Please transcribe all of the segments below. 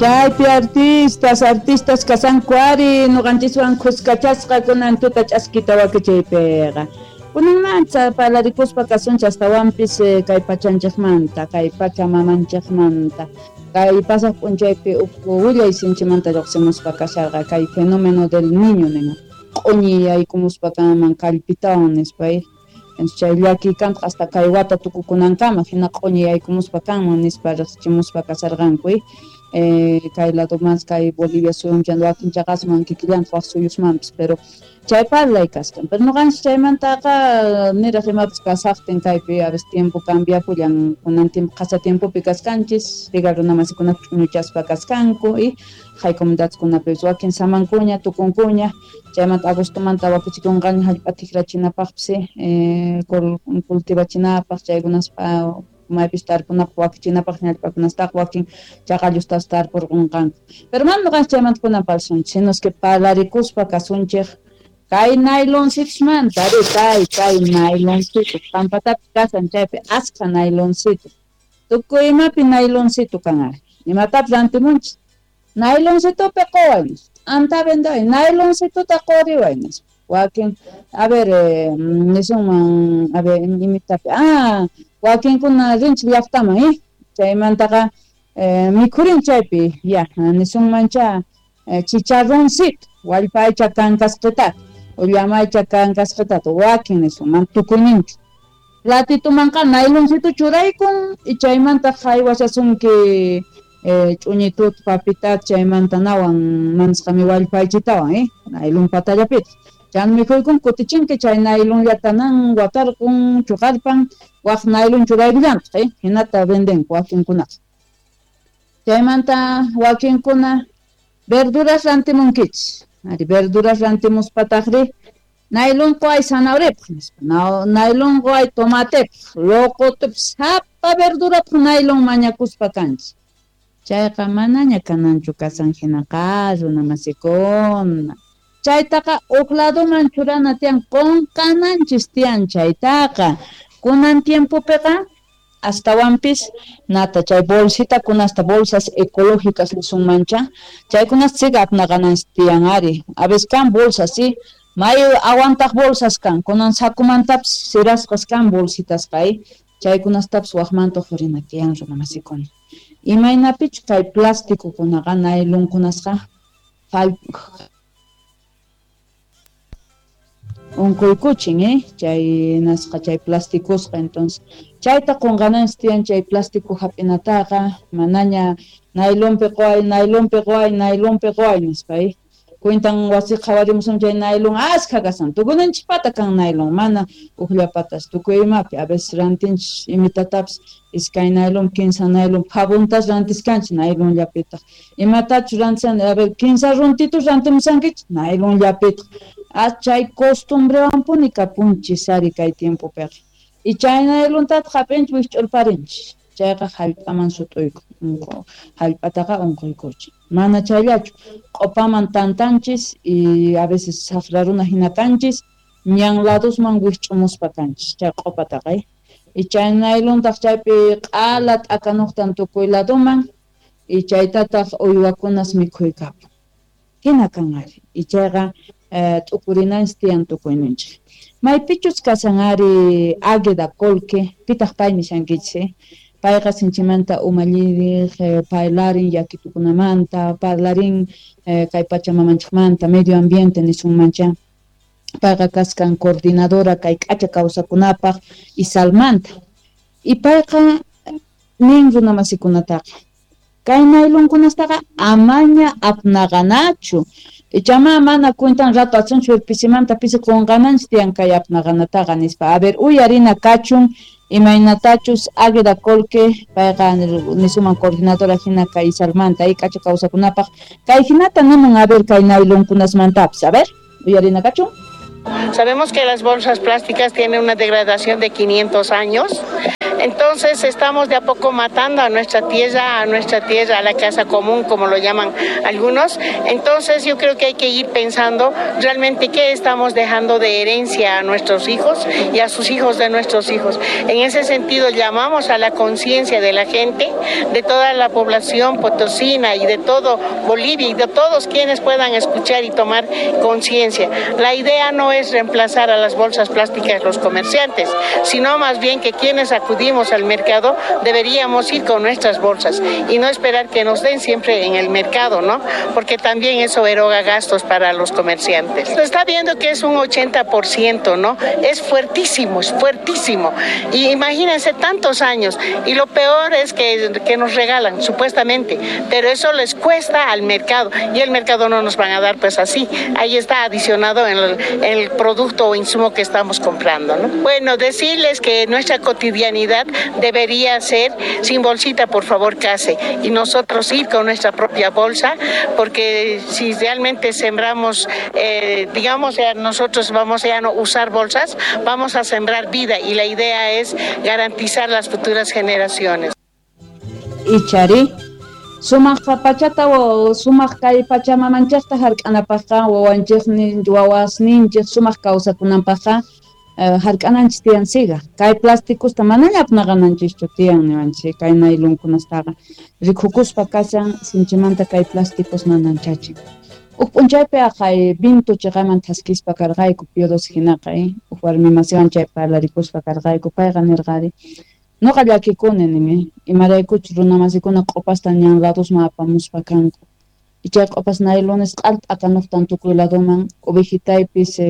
Chaypi artistas, artistas kashanku ari noqanchiswan khuskachasqa kunan tuta ch'askita wakichiypiqa. Kunanmanta parlarikuspa kasunchis astawanpis kay pachanchikmanta, kay pacha mamanchikmanta. Kay pasaq p'unchaypi ukhu willay sinchimanta lluqsimuspa kasharqa kay fenómeno del niño nin. Q'uñi yaykumuspa kanman kallpitawan nispa. Chay llakiy kantaq hasta kay wata tukukunankama hina q'uñi yaykumuspa kanman nispa riqsichimuspa kasharqanku. Kay lado más kay Bolivia suyunchik wakin chaqasman kikillantaq wak suyusmanpis, pero chay parlay kaskan. Pero noqanchis chaymantaqa niraq imapis kasaqtin kaypi a veces tiempo cambiapullan, kunan tiempo qhasa tiempopi kaskanchis, riga runamasikunata ch'uñuchaspa kaskanku y hay comunidadkunapis wakin samankuña tukunkuña, chaymanta agostomanta wakichikunqaña hallp'a tikrachinapaqpis, cultivachinapaq chaykunaspa maypis tarpunapaq wakichinapaq ñallp'akunastaqa wakin chaqallustas tarpurqunqanku. Pero mana noqanchis chaymanta kunan parlasunchis, sino es que parlarikuspa kasunchik kay nayloncitusmanta, ari kay nayloncitos, pampatapis kasan chaypi askha nayloncitos, tukuy imapi nayloncito kan ari, imatapis rantimunchis, nayloncitopi quway nispa, t'anta vendaway, nayloncitota quriway nispa. Wakin, a ver, nisunman, a ver, imitapi, wakinkuna rinchik llaqtaman, chaymantaqa mikhurin chaypi, ya, nisunmancha chicharroncito, wallpa aycha kankasqitata, o llama aycha kankasqitata, wakin nisunman tukuyninchu. Platitumanqa nayloncito churaykun, y chaymanta haywashasunki ch'uñituta, papitata, chaymanta nawan mansqami wallpa aychitawan, naylon patallapitaq. Chan mikhuykun kutichinki chay naylonllata nan watarqun chuqarpan waq naylon churaykullantaq, hinata vendenku wakinkunaqa. Chaymanta wakinkuna verduras rantimunkichis. Ari verduras rantimuspataqri naylon quway zanahoriapaq nispa, naylon quway tomatepaq, loqotupaq, sapa verdurapaq naylon mañakuspa kanchis. Chayqa manaña kananchu kasan hinaqa runamasikuna. Chaytaqa huk ladoman churana tiyan, qunqananchis tiyan chaytaqa. Kunan tiempopiqa astawanpis nata chay bolsitakunasta, bolsas ecológicas nisunmancha, chaykunasta siga apnaqananchis tiyan ari. A veces kan bolsas, sí, may aguantaq bolsas kan, kunan sakumantapis sirasqas kan bolsitasqa, chaykunastapis waqmanta uqhurina tiyan runamasikuna. Imaynapichu kay plastikukunaqa naylonkunasqa unquykuchin, chay nasqa chay plasticosqa, entonces chayta qunqananchis tiyan chay plástico hap'inataqa, manaña naylonpi quway, naylonpi quway, naylonpi quway nispa, Cuentan wasi qhawarimusun chay naylon askha kasan, tukunanchispata kan naylon, mana ukllapatas tukuy imapi, a veces rantinchis imitatapis iskay naylon, kinsa naylon, pavuntas rantiskanchis naylonllapitaq, imatachus rantisan, a ver, kinsa runtitus rantimusankichis naylonllapitaq, chay costumbrewanpuni kapunchis ari kay tiempopiqa. Y chay naylontataq hap'inchis wikch'urparinchis, chayqa hallp'aman sut'uykun, hallp'ataqa unquykuchin. Mana chayllachu, q'upaman tantanchis y a veces saqra runa hina kanchis, ñan ladosman wikch'umuspa kanchis chay q'upataqa. Y chay naylontaq chaypi q'ala t'akanuqtan tukuy ladoman y chaytataq uywakunas mikhuykapun. Hina kan ari. Y chayqa t'ukurinanchis tiyan tukuyninchik. Maypichus kasan ari Águeda Colque, pitaq pay nishankichis, Payqa sinchimanta umalliriq, parlarin llakitukunamanta, parlarin kay pachamamanchikmanta, medio ambiente nisunmancha. Payqa kaskan coordinadora kay k'acha kawsakunapaq Isalmanta. Y payqa nin runamasikunataqa, kay naylonkunastaqa amaña apnaqanachu. Ichama mana cuentan rato asunchu pisimanta pisi qunqananchis tiyan kay apnaqanataqa nispa. A ver, uyarina kachun imaynatachus Águeda Colque, payqa nisuman coordinadora hina kay Isalmanta, y k'acha kawsakunapaq kay hinata nimun, a ver, kay naylonkunasmantapis, a ver, uyarina kachun. Sabemos que las bolsas plásticas tienen una degradación de 500 años. Entonces estamos de a poco matando a nuestra tierra, a la casa común, como lo llaman algunos. Entonces yo creo que hay que ir pensando realmente qué estamos dejando de herencia a nuestros hijos y a sus hijos de nuestros hijos. En ese sentido llamamos a la conciencia de la gente, de toda la población potosina y de todo Bolivia y de todos quienes puedan escuchar y tomar conciencia. La idea no es reemplazar a las bolsas plásticas los comerciantes, sino más bien que quienes acudimos al mercado deberíamos ir con nuestras bolsas y no esperar que nos den siempre en el mercado, ¿no? Porque también eso eroga gastos para los comerciantes. Se está viendo que es un 80%, ¿no? Es fuertísimo, es fuertísimo. Y imagínense tantos años. Y lo peor es que nos regalan, supuestamente, pero eso les cuesta al mercado y el mercado no nos van a dar pues así. Ahí está adicionado en el producto o insumo que estamos comprando, ¿no? Bueno, decirles que nuestra cotidianidad debería ser sin bolsita, por favor, case, y nosotros ir con nuestra propia bolsa, porque si realmente sembramos, digamos, ya nosotros vamos a no usar bolsas, vamos a sembrar vida y la idea es garantizar las futuras generaciones. Ichari, sumaq pachata o sumaq kay pachamamanchaqta hark'anapaqqa wawanchiknin wawasninchik sumaq kawsakunanpaqqa hark'ananchis tiyan siga. Kay plastikusta manaña apnaqananchischu tiyan niwanchik kay nailonkunastaqa rikukuspa kashan sinchimanta kay plásticos nananchachin. Uj p'unchaypi aqhay vinto chiqaman thaskispa karqayku Pío XII hinaqa uj warmi masiwan chay parlarikuspa karqayku payqa nirqari noqa llakikuni nin imaraykuchus runamasikuna q'upasta ñan ladosman apamuspa kanku y chay q'upas nailones q'alt'akanuqtan tukuy ladoman ovejitaypis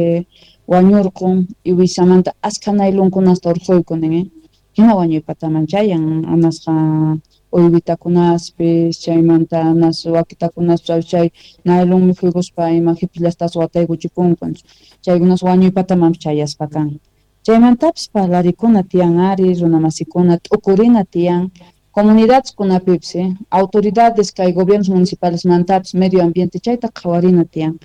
wañurqun y wisamanta askha nailonkunasta urquyku nin hina wañuypataman chayan anasqa uywitakunaspis chaymanta anas wakitakunaspis chay nailon mikhuykuspa ima qhipillastas wataykuchipunku chaykunas wañuypatamanpis chayaspa kan. Chaymantapis parlarikuna tiyan ari runamasikuna t'ukurina tiyan comunidades kunapipis autoridades kay gobiernos municipales mantapis medio ambiente chayta qhawarina tiyan.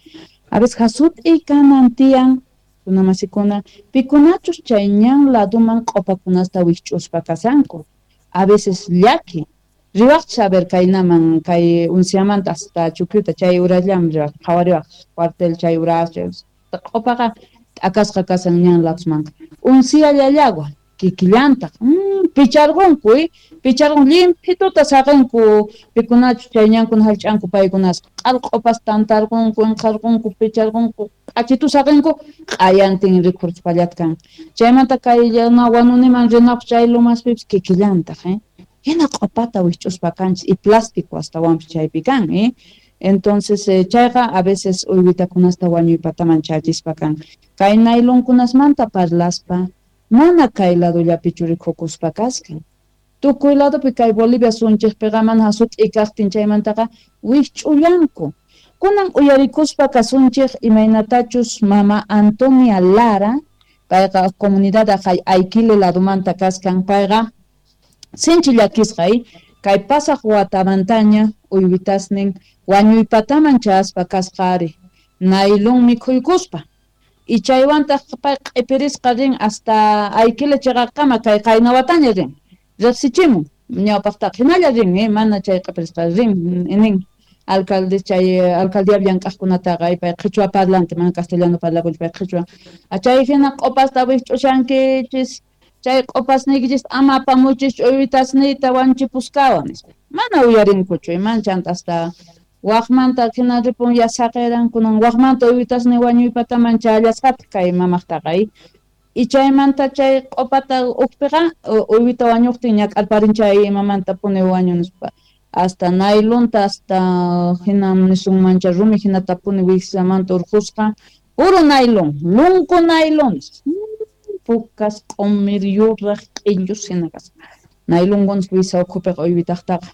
A veces hasut'i kanan tiyan runamasikuna pikunachus chay ñan laduman q'upakunasta wikch'uspa kasanku. A veces llaki riwaqchis a ver kaynaman kay unciamanta hasta Chukyuta chay urallam riwaq qhawariwaq cuartel chay uras q'upaqa t'akasqa kasan ñan ladusmanqa uncia llallagua kikillantaq picharqunku picharqun llimpituta saqinku pikunachus chay ñankuna hallch'anku paykunasqa q'al q'upas tantarqunku inqarqunku picharqunku k'achitu saqinku q'ayantin rikhurchpallata kan chaymanta kay wanuniman rinapaq chay lumaspipis kikillantaq hina q'upata wikch'uspa kanchis y plástico astawanpis chaypi kan Entonces chayqa a veces uywitakunasta wañuypataman chachispa kan. Kay nailonkunasmanta parlaspa mana kay ladollapichu rikukuspa kaskan. Tukuy ladopi kay Bolivia sunchikpiqa mana hasut'i kaqtin chaymantaqa wikch'ullanku. Kunan uyarikuspa kasunchik imaynatachus mama Antonia Lara, payqa comunidad aqhay Ayquile ladomanta kaskan, payqa sinchi llakisqa kay pasaq watamantaña uywitasnin wañuypataman chayaspa kasqa ari nailon mikhuykuspa y chaywantaq pay q'ipirisqa rin hasta Ayquile chiqaqkama kay qaynawataña rin riqsichimun ñawpaqtaqa hinalla rin mana chay q'ipirisqa rin nin alcalde chay alcaldía llank'aqkunataqa pay qhichwa parlante mana castellano parlakunchu pay qhichwa chay hina q'upasta wikch'ushankichis chay q'upasniykichis ama apamuchis uywitasniyta wanchipuskawan nispa mana uyarinkuchu mana chanta hasta waqmanta hina ripun ya saqiran kunan waqmanta uywitasniy wañuypataman chayallasqataq kay mamaqtaqa y chaymanta chay q'upata ukpiqa uywita wañuqtin ñak'arparin chay imamanta puni wañu nispa hasta nailonta hasta hina nisunmancha rumi hinata puni wiksamanta urqusqa puro nailon lunku nailon pukas q'umir yuraq q'illus hina kasqa nailonkunas wisa ukhupiqa uywitaqtaqa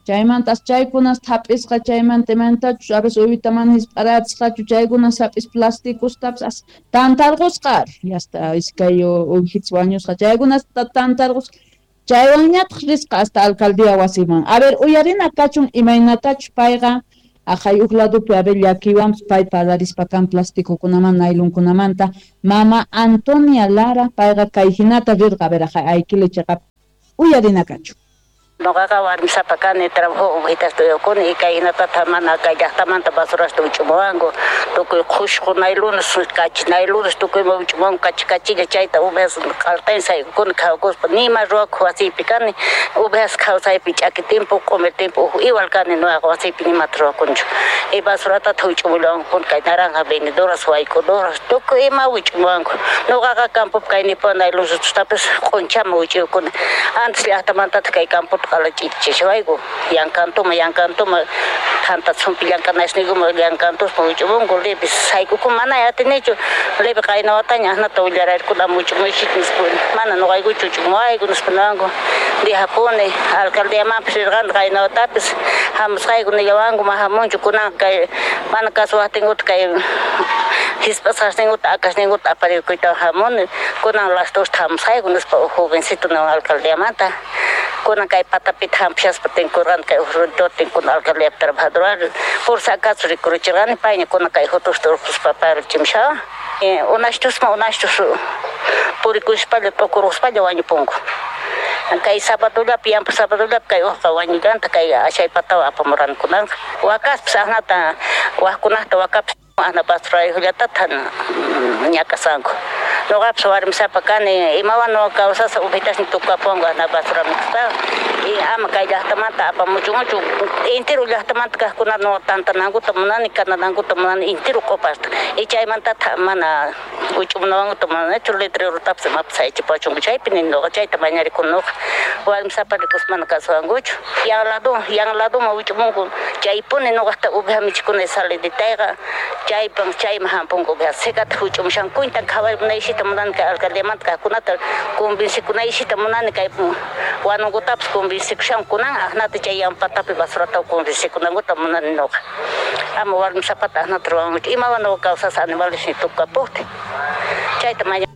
chaymantas chaykunas thap'isqa chaymanta imantachus a veces uywita mana hisp'aratisqachu chaykunas hap'is plasticostapis as tantarqusqa ari hasta iskay uwijitas wañusqa chaykunas tantarqusqa chaywanñataq risqa hasta alcaldía wasiman. A ver uyarina kachun imaynatachus payqa aqhay uj ladopi a ver llakiywanpis pay parlarispa kan plastikukunamanta nailonkunamanta mama Antonia Lara payqa kay hinata rirqa a ver aqhay Ayquile chiqap. Uyarinakachu. Noqaqa warmisapa kani, trabajo ovejitasta uywakuni, y kay hinatata mana kay llaqtamanta basurasta wich'umuwanku, tukuy qhushqu naylunas, kachi naylunas, tukuyman wich'umuwanku, kachi kachilla chayta ovejas q'altayn saykukuni qhawakuspa, nima ruwakuq wasiypi kani, ovejas qhawsaypi ch'aki tiempo, q'umir tiempo uj igual kani noqaqa wasiypi nimata ruwakunchu, y basuratata wich'umullawankupuni kay naranja vendedoras, wayk'udoras, tukuy ima wich'umuwanku, noqaqa campopi kaynipuwan naylunsitustapis q'unchaman wich'uykuni, antes llaqtamantataq kay campota ch'ichishawayku, yankantuma yankantuma thanta chumpi llank'anasniykuma llankantuspa wich'umunku lepis sayk'ukun mana atinichu lepi qayna wataña ajnata willararkuna ama wich'umuychik nispa mana noqaykuchu wich'umuwayku nispa niwanku dejapuni alcaldiamanpis rirqani qayna watapis hamusqayku nillawanku ma hamunchu kunanqa kay mana kasuwaqtinkuta kay hisp'asqasninkuta akasninkuta aparikuytawan hamuni kunan las dosta hamusqayku nispa uj jovencito niwan alcaldiamanta kunan kay patapita hampishaspa tinkurqani kay uj runtuwan tinkuna alcaldiapi trabajadorwan por si acaso rikurichirqani payña kunan kay fotosta urqhuspa parichimushawan unashtusma unashtus purikushpalla t'ukurquspalla wañupunku kay sabadollapi yampa sabadollapi kay ujqa wañullanta kay ashaypatawan apamurqani kunanqa wakaspis ajnata wajkunajta wakapis ajna basurayuqllatata ñak'asanku noqapis warmisapa kani imawan noqa kawsasaq ovejitasniy tukukapuwanku ajna basura mikhuspaqa y ama kay llaqtamanta apamuchunchu entero llaqtamanta kaqkunata noqa tantanankuta munani kananankuta munani entero q'opasta y chaymantataq mana wich'umunawankuta munanichu letrerotapis imapis sayachipawachunku chaypi nini noqa chayta mañarikuni noqa warmisapa rikuspa mana kasuwankuchu yan lado yan ladoman wich'umunku chaypuni noqajta oveja michikuna saliditayqa chaypan chayman hampunku oveja secataq wich'umushanku cuentan qhawarimunaysita munani kay alcaldiamanta kaqkunata convencikunaysita munani kay wanunkutapis convencikushanku kunan ajnata chay yampatapi basurata convencikunankuta munani noqa ama warmisapata ajnata ruwankuchu imawan noqa kawsasaq animales tukukapujtin chayta maña.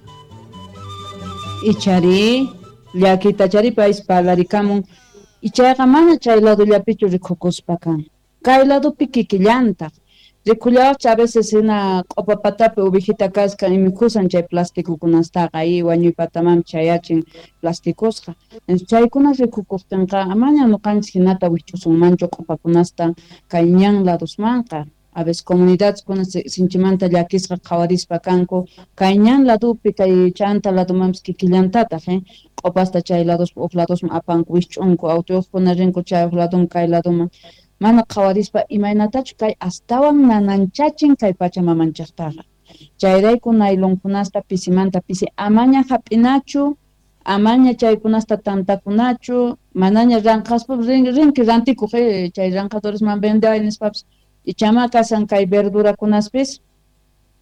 Ichari llakitachari paypis parlarikamun ichayqa mana chay ladollapichu rikukuspa kan kay ladopi kikillantaq rikullawaqcha a veces hina q'opa patapi ovejita kaskan imikhusan chay plastikukunastaqa y wañuy patamanpis chayachin plasticosqa chaykuna rikukuqtinqa amaña noqanchis hinata wikch'usunmanchu q'opakunasta kay ñan ladosmanqa a veces comunidadeskuna sinchimanta llakisqa qhawarispa kanku kay ñan ladopi kay chanta ladomanpis kikillantataq q'opasta chay ladospi uj ladosman apanku wikch'unku autoyuqkuna rinku chay uj ladoman kay ladoman mana qhawarispa imaynatachu kay astawan nananchachin kay pachamamanchaqtaqa chayrayku nailonkunasta pisimanta pisi amaña hap'inachu amaña chaykunasta tantakunachu manaña ranqaspa rinki rantikuq chay ranqadoresman vendeway nispapis ichama kasan kay verdurakunaspis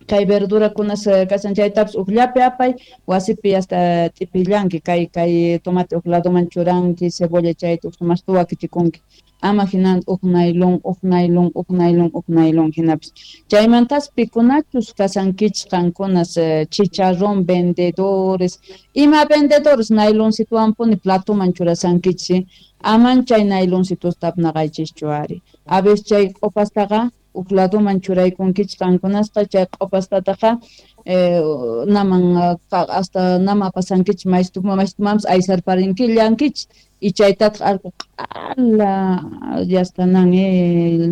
kay verdurakunas kasan chaytapis ujllapi apay wasipi hasta t'ipillanki kay kay tomate uj ladoman churanki cebolla chayta uj sumaqta wakichikunki ama hinan uj nailon uj nailon uj nailon uj nailon hinapis chaymantas pikunachus kasankichis qankunas chicharrón vendedores ima vendedores nailoncituwanpuni platoman churasankichis aman chay nailoncitusta apnaqaychischu ari a veces chay q'opastaqa uj ladoman churaykunkichis qankunasqa chay q'opastataqa naman hasta nama apasankichis maystumanpis aysarparinkillankich y chaytataq allqu q'ala yastanan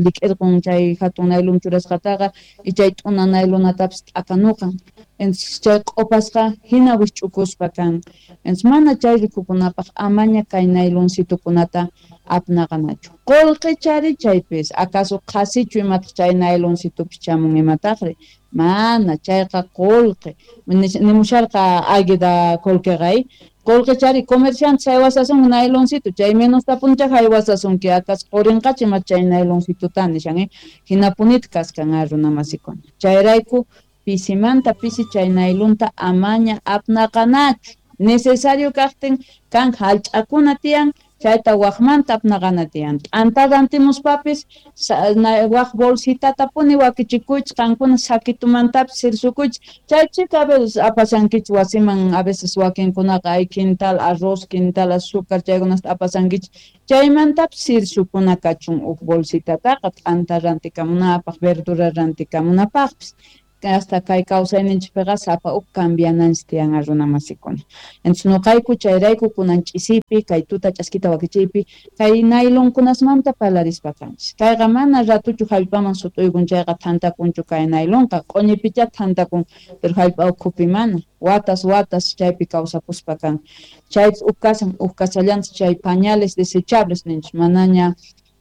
lik'irqun chay hatun nailon churasqataqa y chay t'una nailonatapis t'akanuqan entonces chay q'opasqa hina wikch'ukuspa kan entonces mana chay rikukunapaq amaña kay nailoncitukunata apnaqanachu qullqichari chaypis acaso qhasichu imataq chay nailoncitupis chamun imataqri mana chayqa qullqi nimusharqa águeda qullqiqa qullqichari comerciante haywasasunki nailoncito chay menostapuncha haywasasunki acaso qurinqachu ima chay nailoncituta nishan hinapunita kaskan runamasikuna chayrayku pisimanta pisi chay nailonta amaña apnaqanachu necesario kaqtin kan hallch'akuna tiyan chayta waqmanta apnaqana tiyan t'anta rantimuspapis waq bolsitatapuni wakichikuychis qankuna saquitumantapis sirsukuychis chay chika a veces apasankichis wasiman a veces wakinkunaqa ay quintal arroz quintal azúcar chaykunasta apasankichis chaymantapis sirsukuna kachun uj bolsitataqa t'anta rantikamunapaq verdura rantikamunapaqpis. Hasta kay kawsayninchikpiqa sapa huk cambiananchis tiyan runa masikuna. Entonces noqayku chayrayku kunan ch'isipi kay tuta ch'askita wakichiypi kay nailonkunasmanta parlarispa kanchis. Kayqa mana ratuchu hallp'aman sut'uykun chayqa thantakunchu kay nailonqa, q'uñipichá thantakun, pero hallp'a ukhupi mana. Watas watas chaypi kawsakuspa kan. Chaypis huk kasan, huk kasallantaq chay pañales desechables ninchis, manaña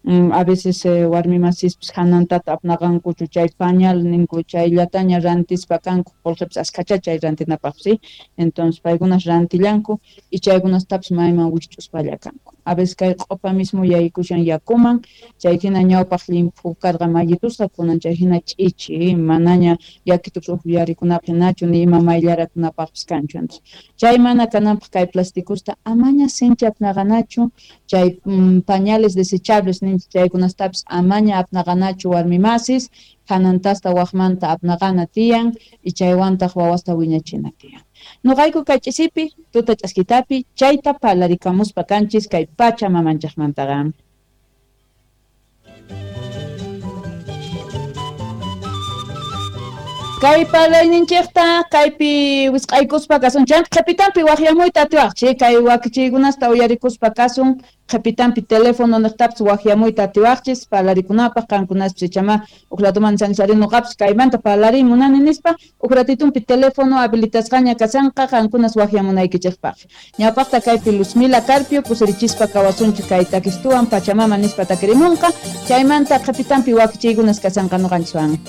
a veces warmi masispis hanantata apnaqankuchu chay pañal ninku chayllataña rantispa kanku, qolqepis askhachá chay rantinapaq, ¿sí? Entonces paykunas rantillanku y chaykunastapis mayman wikch'uspalla kanku. A veces kay q'opa mismo yaykushan yakuman, chay hina ñawpaq llimphu karqa mayitusqa, kunan chay hina ch'ichi, manaña yakitupis ukyarikunapaq hinachu ni ima mayllarakunapaqpis kanchu. Entonces chay mana kananpaq kay plastikusta amaña sinchi apnaqanachu, chay pañales desechables ninchis chaykunastapis amaña apnaqanachu warmi masis, hanantasta waqmanta apnaqana tiyan y chaywantaq wawasta wiñachina tiyan. Noqayku kay ch'isipi, tuta ch'askitapi, chayta parlarikamuspa kanchis kay pacha mamanchaqmantaqa. Kay parlayninchikta kaypi wisq'aykuspa kasun, chay qhipitanpi waqyamuyta atiwaqchik, kay wakichiykunasta uyarikuspa kasun, qhipitanpi teléfono niqtapis waqyamuyta atiwaqchis parlarikunapaq, qankunaspis ichama uj ratuman sansari noqapis kaymanta parlariy munani nispa, uj ratitunpi teléfono habilitasqaña kasanqa qankunas waqyamunaykichikpaq. Ñawpaqta kaypi Luzmila Carpio kusirichispa kawasunchik kay takistuwan Pachamama nispa takirimunqa, chaymanta qhipitanpi wakichiykunas kasanqa noqanchiswan.